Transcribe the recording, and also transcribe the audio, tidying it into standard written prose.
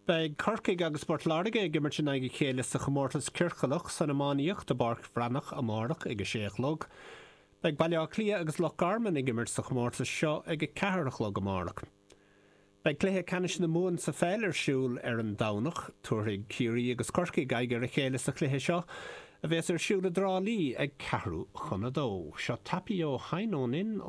Beidh Corcaigh agus Port Láirge ag imirt in aghaidh a chéile sa chomórtas ciorclach san iománaíocht i bPáirc Bhreathnach amárach ag 6 a chlog. Beidh Baile Átha Cliath agus Loch Garman ag imirt sa chomórtas seo ag 4 a chlog amárach. Beidh cluiche ceannais na Mumhan sa pheil ar siúl ar an Domhnach. Tabharfaidh Ciarraí agus Corcaigh aghaidh ar a chéile sa chluiche seo, a bheas ar siúl i dTrá Lí ag ceathrú chun a dó. Seo Tapio Heinonen.